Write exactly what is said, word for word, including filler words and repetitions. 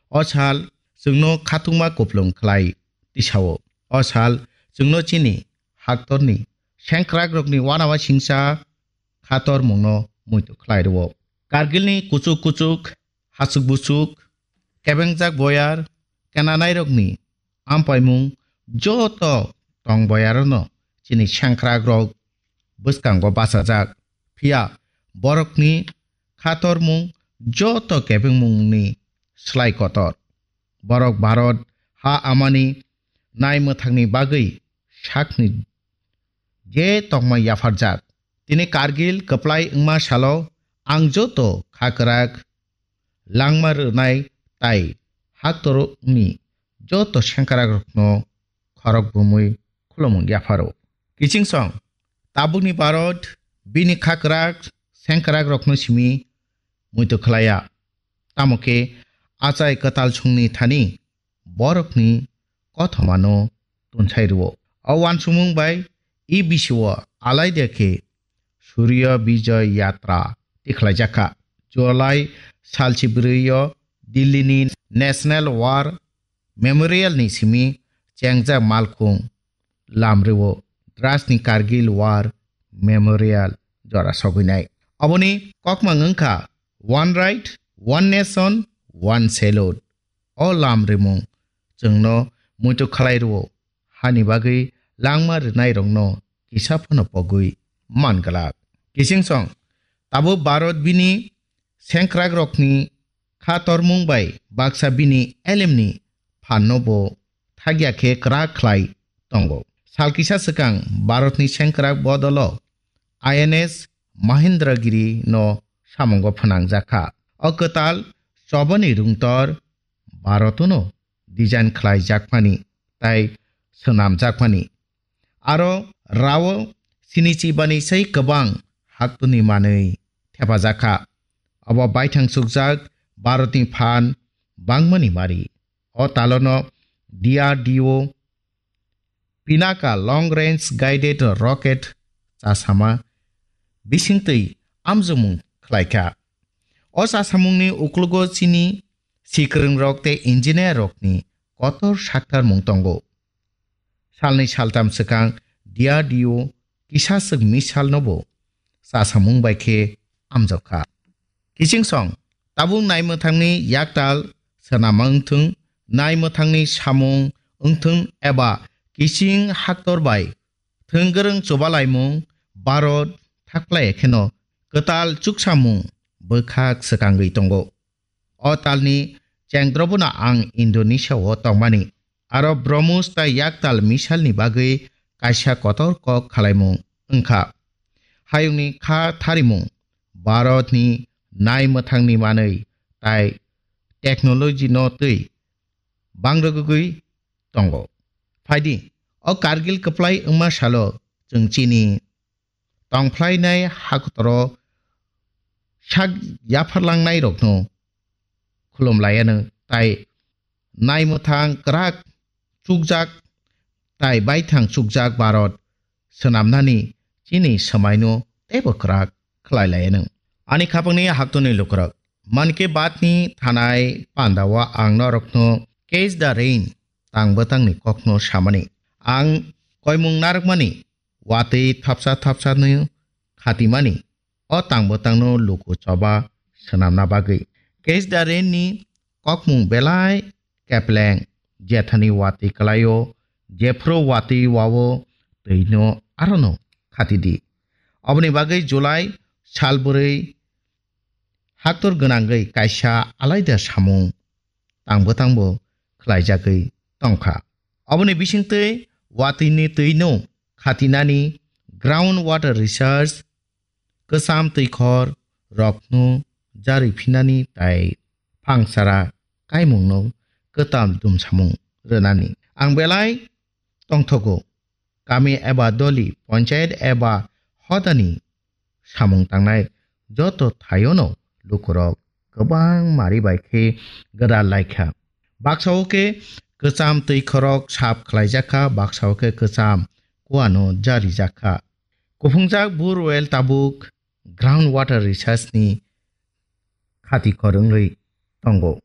O sal chwngno khatungma kuplung khlai tisao. O sal chwngno chini haktorni sengkrakrokni uanao singcha khatormungno muitu khlai rwo. Kargilni kuchuk kuchuk, hachuk buchuk, kebengjak boyar, kenanairokni ampaimung joto tong boyarono chini sengkrakrok bwskango bachajak. Phiya borokni khatormung joto kebengmungni slai kotor. Borok Bharat ha amani nai mwthangni bagwi sakni je tongma yapharjak. Tini Kargil kwplai wngma salo ang joto kha kwrak langma rwnai tai haktorokni joto sengkrakrokno khorok bumui khulumung yapharo. Kichingsong, tabukni Bharat bini kha kwrak sengkrakrokno simi muitu khlaiya. Tamo khe achai kwtal songni thani borokni kothomano tunsai rwo. O uansukmung bai e bisio alaida khe Surya Vijay Yatra tikhlaijakha. July salchi brwi o Delhi ni National War Memorial ni simi chengjak malkhung lam rwo Dras ni Kargil War Memorial jora sogwinai. Aboni kokmang wngkha One Right, One Nation, One Salute. O lam rimung chwngno muitu khlai rwo, hani bagwi langma rwnairokno kisa phano pogwi man glak. Kichingsong, tabuk Bharat bini sengkrakrokni kha tormung bai baksa bini elemni phanno bo thagya khe kwrak khlai tongo. Sal kisa swkang Bharatni sengkrak bodolo I N S Mahendragiri no samungo phwnangjakha. O kwtal chobani rungtor Bharatno design khlaijakmani tai swnamjakmani. Aro rao sinichi bani sai kwbang haktuni manwi thepajakha. Abo baithang chukjak Bharatni phan bangmani mari. O talono D R D O Pinaka Long Range Guided Rocket chasama bisingtwi amjokmung khlaikha. O chasamungni uklogo chini sikwrwngrok tei engineer rokni kotor saktarmung tongo. Salnwi saltam swkang D R D O kisaswk missile nobo chasamung bai khe amjokha. Kichingsong, tabuk naimwthangni yaktal swnama wngthung, naimwthangni samung wngthung eba kiching haktor bai thwng gwrwng chubalaimung Bharat thakplai kheno kwtal chuksamung bwkhak swkangwi tongo. O talni chengdrobono ang Indonesia o tongmani. Aro Brahmos tai yaktal missile ni bagwi kaisa kotor kok khalaimung wngkha. Hayungni kha tharimung Bharatni naimwthangni manwi tai technology no twi bangrwgwi tongo. Phaidi, o Kargil kwplai wngma salo chwng chini tongphlainai hakotoro sak yapharlangnairokno khulumlaianw tai naimwthang kwrak chukjak tai baithang chukjak Bharat swnamnani chini swmaino teibo kwrak khlailaianw. Ani khapangni haktoni lukurok, Mann Ki Baat ni thanai pandao ang norokno Catch the Rain tang bwtangni kokno samani. Ang koimung narwkmani watwi thapsa thapsano khatimani o tang bwtangno luku choba swnamna bagwi. Catch the Rain ni kokmung belai kepleng, jethani watwi kwlaio, jephru watwi wao twino arono khatidi. Oboni bagwi July sal bwrwi haktor gwnangwi kaisa alaida samung tang bwtangbo khlaijagwi tongkha. Oboni bisingtwi watwini twino khatinani, ground water research, kwcham twikhor rokno jarwi phinani tai phangsara kaimungno kwtal dumsamung rwnani. Ang belai tongthogo, kami eba doli, ponchayat eba hodani samung tangnai joto thaiono lukurok kwbang mari bai khe gwdal laikha. Baksao khe kwcham twikhorok sap khlaijakha, baksao khe kwcham kuano jarijakha. Kuphungjak borewell tabuk ground water research ni khati khorwngwi tongo.